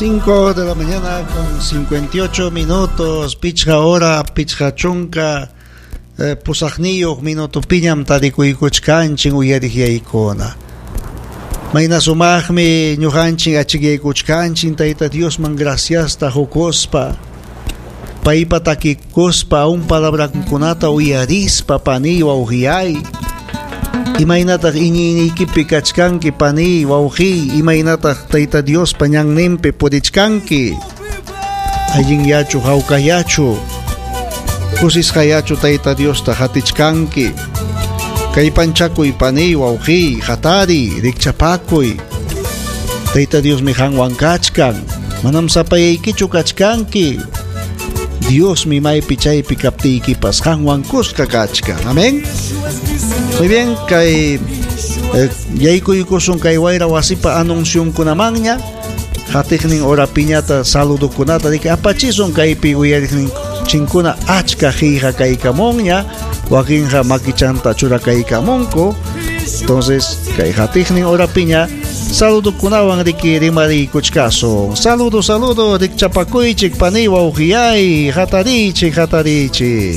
5 de la mañana con 58 minutos, pichqa hora, pichqa chunka, pusaqniyuq minutopiñam tarikuykuchkanchik uyariqyaykuna. Mayna sumaqmi ñuqanchik achikyaykuchkanchik Tayta Diosman graciasta hukuspa, paypa takikuspa, un palabrankunata uyarispa paniy wawqiyay. Imaynataq iñiyniykipi kachkanki paniy wawqiy, imaynataq Tayta Diospa ñanninpi purichkanki. Allinyachu hawkayachu, kusisqayachu Tayta Diosta hatichkanki. Kallpanchakuy paniy wawqiy, hatariy, rikchapakuy. Tayta Diosmi qanwan kachkan, manam sapayaykichu kachkanki. Diosmi maypi chaypi kaptiykipas qanwan kuska kachkan. Amén. Muy bien, kay yaykuykusun kay wayra wasipa anunciunkunamanña. Hatiqnin hora piñata saludukunata riki apachisun kaypi uyariqnin chinkuna achka qillqa kaykamunña, wakinqa makichanta churakaykamunku. Entonces, kay hatiqnin hora piña saludukunawan riki rimariykuchkasun. Saludo, saludo, rikchapakuychik paniy wawqiyay, hatariychik, hatariychik.